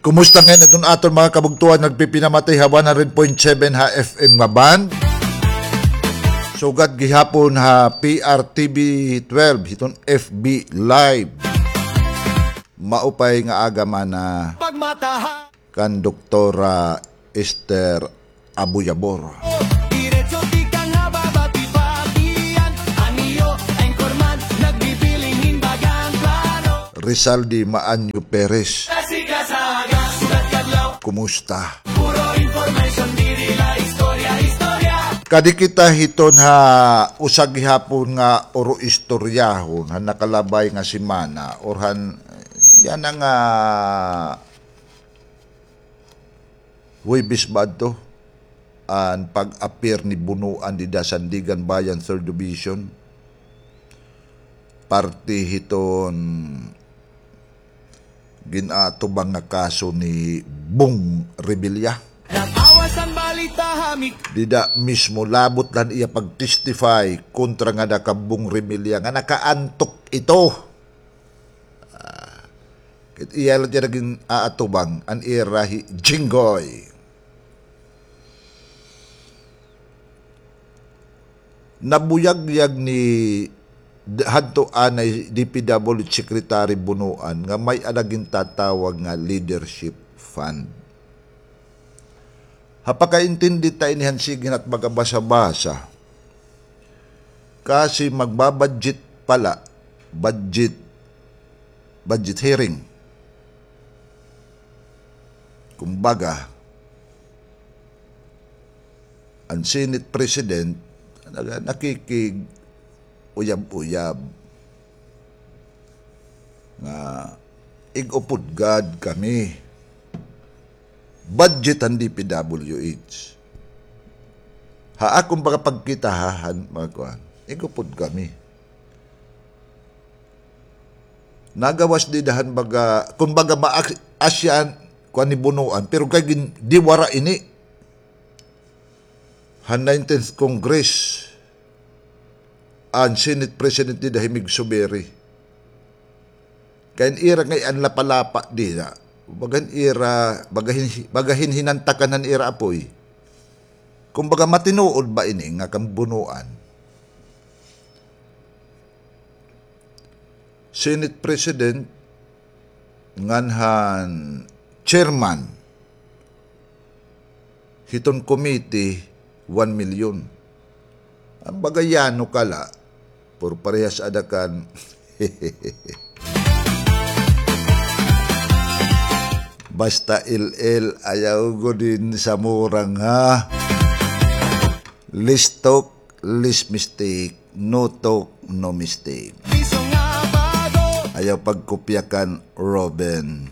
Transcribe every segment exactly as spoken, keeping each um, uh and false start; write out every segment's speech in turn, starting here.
Kumusta ngay-an iton aton mga kabugtoan nagpipinamatay ha one hundred point seven ha F M nga band? Sugad gihapon ha P R T V twelve hiton F B Live. Maupay nga aga man na. Pagmataha. Kan Doktora Esther Abuyabor. Diretso tikang ha babati-batian, an iyo anchorman, nagbibiling hin baga han plano. Rizaldi Maanyo Perez. Kumusta? Puro information, diri la istorya, istorya. Kadi kita hiton ha usa gihapon nga oro istoryahon han nakalabay nga semana, or han, yana nga Huwebes ba adto an pag-appear ni Bonoan dida Sandiganbayan Third Division, parte hiton gin-aatubang nga kaso ni Bong Revilla. Nag-awas an balita ha mi. Dida mismo labot la an iya pag-testify kontra ngada kan Bong Revilla nga nakaantok ito. Ah, kay iya la dida gin-aatubang an ira hi Jinggoy. Nabuyagyag ni d-, hadto anay D P W Secretary Bonoan nga may-ada gintatawag nga leadership fund. Ha pakaintindi ta ini han sige nat baga basa-basa. Kasi magbabudget pala, budget, budget hearing. Kumbaga, an Senate President, naga-, nakikig-uyab-uyab nga ig-upod gad kami. Budget han D P W H. Ha akon baga pagkita, ha, han mga kuan, ig-upod kami. Nagawas dida han baga, kun baga maak-, asya an kuan ni Bonoan, pero kay gin-, diwara ini. Han nineteenth Congress, an Senate President dida hi Migso Berry. Kay an ira ngay-an lapalapa dida. Baga an ira, baga hin-, baga hin-, hinantakan han ira apoy. Kumbaga, matinuod ba ini nga kan Bonoan? Senate President ngan han chairman hiton committee, one million. An baga yano ka la, pero parehas ada kan. Basta il-il, ayaw gud hin samurang, ha. Less talk, less mistake. No talk, no mistake. Ayaw pagkopya kan Robin.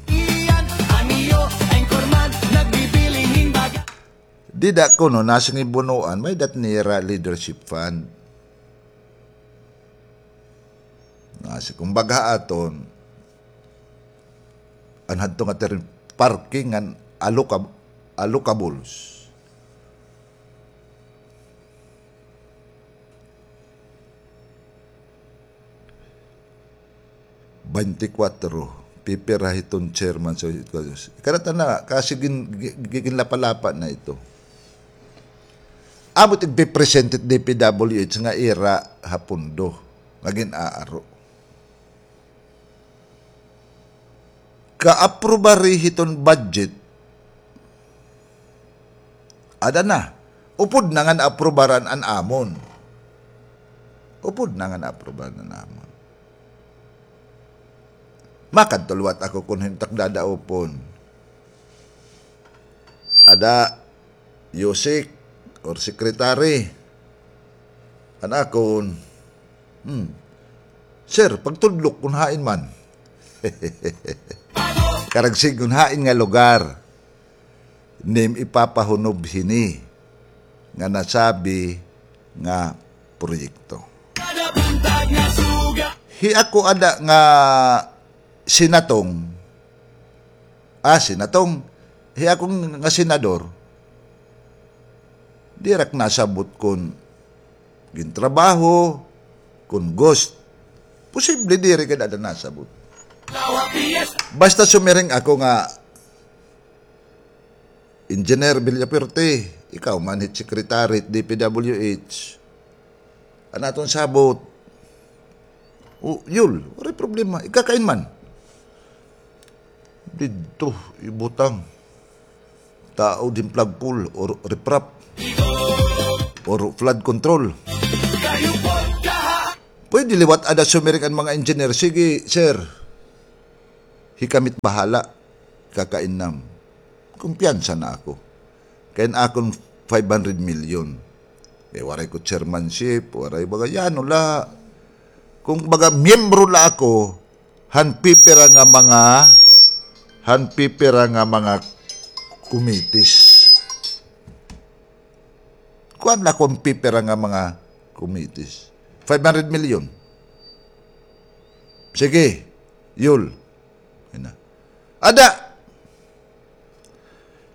Dida kuno, nasiring hi Bonoan, may-ada it nira leadership fund. Nasiring, kumbaga aton, an hadto nga term, parking ngan allocab-, allocables. Baynte kwatro, pipira hiton chairman, so, kada tana, kasi gin-, gi-, gi-, ginlapa-lapa na ito. Amo it igpipresent it D P W H nga ira ha pondo nga gin-aaro. Kaaprobari hiton budget, ada na. Upod na nga naaprubaran an amon. Upod na nga naaprubaran an amon. Makadto liwat ako kon hin-o it ak dadaopon. Ada, Yusek or secretary. An akon, hmm. Sir, pagtudlok kon hain man. Karag sidngon hain nga lugar nim ipapahunob hini nga nasabi nga proyekto. Hi ako ada nga sinatong, ah, sinatong, hi ako nga senador, diri ak nasabot kon gintrabaho, kon ghost. Posible diri gad ada nasabot. Basta sumiring ako nga Engineer Villafuerte, ikaw man hit secretary hit D P W H. An aton sabot, "O, Yul, waray problema. Ikakain man." Didto, ibutang. Taod hin flagpole or riprap or flood control. Pwede liwat ada sumiring an mga engineer, "Sige, sir. Hi kami it bahala. Kakain nam." Kumpiyansa na ako. Kay an akon five hundred million. Eh, waray ko chairmanship, waray baga, yano la. Kumbaga, miyembro la ako, han pipira nga mga, han pipira nga mga committees. Kuan la kon pipira nga mga committees. Five hundred million. Sige, Yul. Yan na. Ada.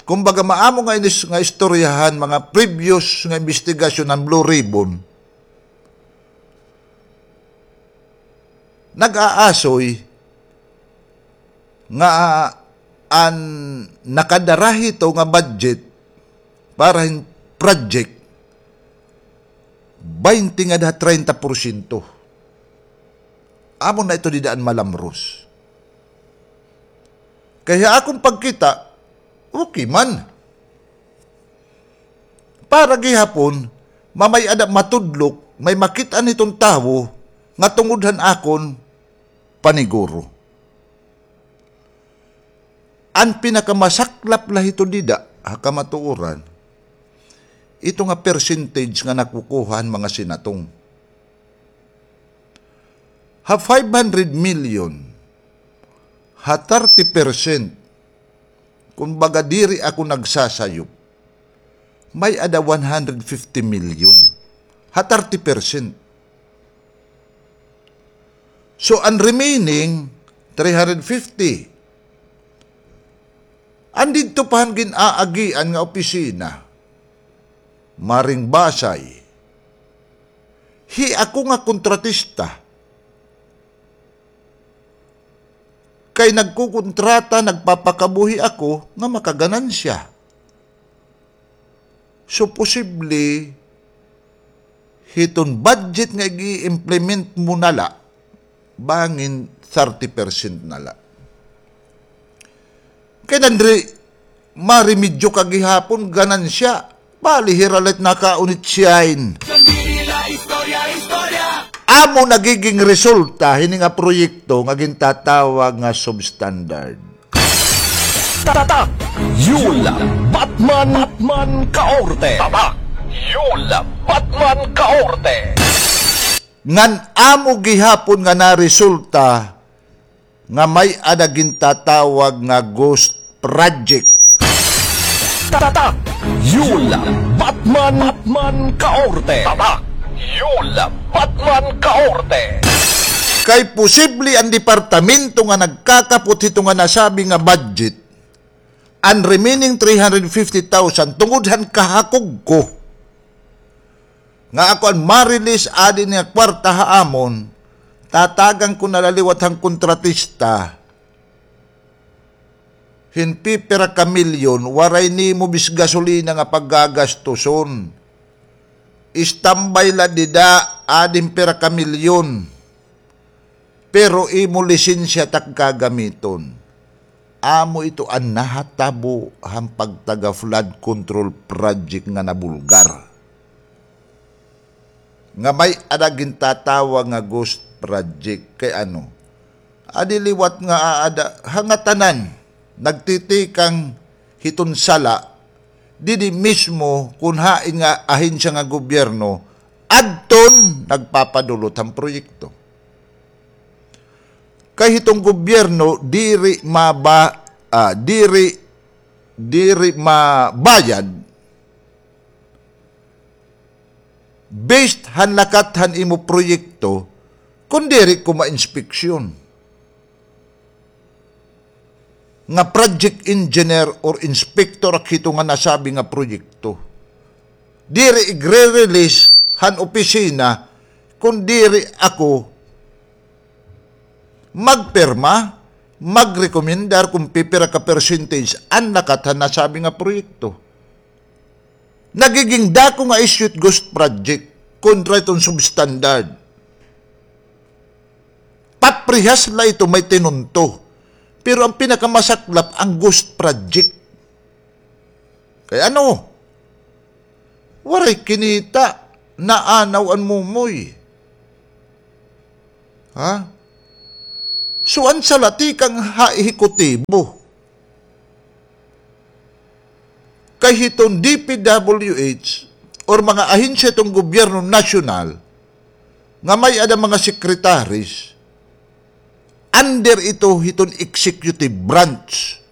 Kumbaga, maamo nga inis-, nga istoryahan, mga previous nga investigasyon han Blue Ribbon. Nag-aasoy nga an nakadara hito nga budget para hin project, baynte ngada ha treinta porsyento. Amo na ito dida an malamros. Kay ha akon pagkita, okay man. Para gihapon, mamay-ada matudlok, may makit-an hiton tawo nga tungod han akon paniguro. An pinakamasaklap la hito dida, ha kamatuoran, ito nga percentage nga nakukuha han mga sinatong. Ha five hundred million, ha thirty percent, kumbaga, diri ako nagsasayop, may-ada one hundred fifty million. Ha thirty percent. So, an remaining three hundred fifty, an didto pa han gin-aagian nga opisina, Maring Basay, hi ako nga kontratista. Kay nagkukontrata, nagpapakabuhi ako nga makaganansya. So, posible, hiton budget nga ig-i-implement mo na la, bangin thirty percent na la. Kay nandri, maremedyo ka gihapon, ganansya. Bali, hira la it nakaunit siyain. Amo nagiging resulta hini nga proyekto nga gintatawag nga substandard. Tatak Yul Batman, Batman Kaorte. Tatak Yul Batman Kaorte. Ngan amo gihapon nga naresulta nga may-ada gintatawag nga ghost project. Tatak Yul Batman, Batman Kaorte. Tatak Yul Batman Kaorte. Kay posible an departamento nga nagkakapot hito nga nasabi nga budget, an remaining three hundred fifty thousand tungod han kahakog ko nga ako an ma-release adi nga kwarta ha amon, tatagan ko na la liwat han kontratista hin pipira ka milyon, waray nimo bis gasolina nga paggagastuson. Istambay la dida, adi hin pira ka milyon. Pero imo lisensya tak gagamiton. Amo ito an nahatabo han pagtaga flood control project nga nabulgar. Nga may-ada gintatawag nga ghost project. Kay ano? Adi liwat nga aada, ha ngatanan, nagtitikang hiton sala, didi mismo kun hain nga ahensya nga gobyerno, adton nagpapadulot han proyekto. Kay hiton gobyerno, diri maba-, ah, diri, diri mabayad based han lakat han imo proyekto, kun diri ko mainspeksyon. Nga project engineer or inspector ak hito nga nasabi nga proyekto. Diri igre-release han opisina kun diri ako magpirma, magrekomendar kon pipira ka percentage an nakat han nasabi nga proyekto. Nagiging dako nga issue it ghost project kontra iton substandard. Paprehas la ito may tinunto. Pero an pinakamasaklap, an ghost project. Kay ano? Waray kinita, naanaw an mumoy. Ha? So, an sala tikang ha ehekutibo. Kay hiton D P W H or mga ahensya hiton gobyerno nasyonal nga may-ada mga secretaries, under ito hiton executive branch.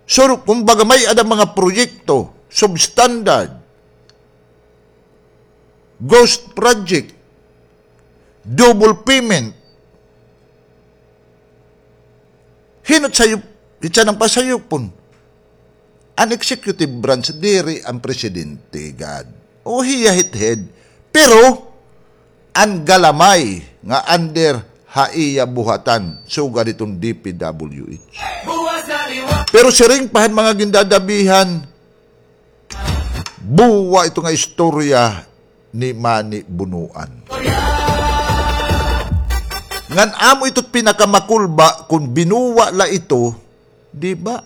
So, kumbaga, may-ada mga proyekto, substandard, ghost project, double payment. Hin-o it sayop, hin-o it sayop an pasayupon? An executive branch, diri an presidente gad. O, hiya hit head. Pero, an galamay nga under ha iya buhatan, sugad hiton D P W H. Pero siring pa han mga gindadabihan, buwa ito nga istorya ni Manny Bonoan. Ngan amo ito it pinakamakulba kon binuwa la ito, di ba?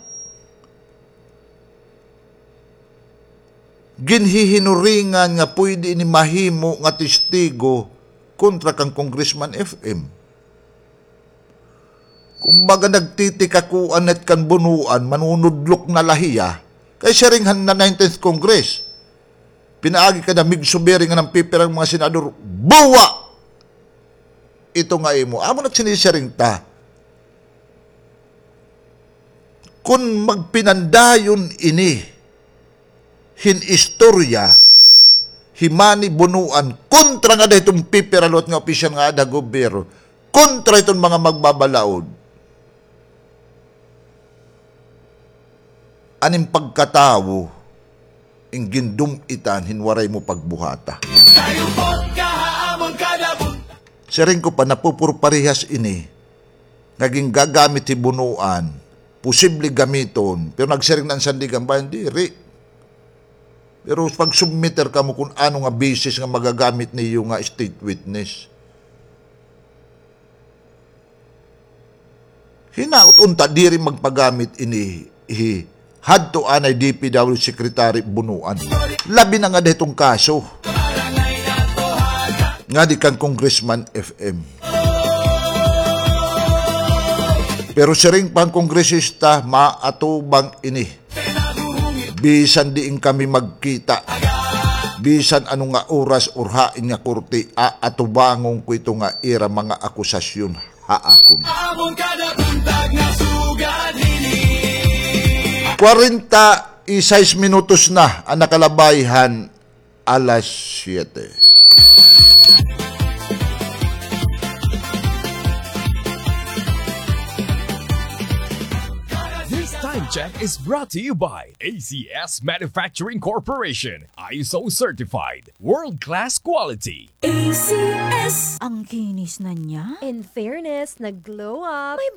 Ginhihinuringan nga pwede ini mahimo nga testigo kontra kan Congressman F M. Kumbaga, nagtitikakuan na it kan Bonoan, manunudlok na la hiya. Kay siring han na nineteenth Congress, pinaagi ka na, Mig Subiri nga nagpipira nga mga senador, buwa! Ito nga imo. Amo na it sinisiring ta. Kon magpinandayon ini hin istorya, hi Manny Bonoan, kontra ngada hiton pipira liwat nga opisyal nga aada ha gobyerno, kontra hiton mga magbabalaod. An im pagkatawo, in gindum-itan hin waray mo pagbuhata. Siring ko pa, napupurparehas ini nga gingagamit hi Bonoan, posible gamiton, pero nagsiring na an Sandiganbayan, diri. Pero pag-submiter kamo kon ano nga basis nga magagamit niyo nga state witness. Hinaot unta diri magpagamit ini hi hadto anay D P W Secretary Bonoan. Labi na ngada hiton kaso ngadi kan Congressman F M. Pero siring pa han kongresista, maatubang ini. Bisan diin kami magkita, bisan ano nga oras or hain nga korte, aatubangon ko ito nga ira mga akusasyon ha akon. Amon kada buntag nga sugad hini. Kwarenta y seis minutos na an nakalabay han alas siyete. This time check is brought to you by A C S Manufacturing Corporation, I S O certified, world-class quality. A C S. Ang kinis na niya. In fairness, nag-glow up. May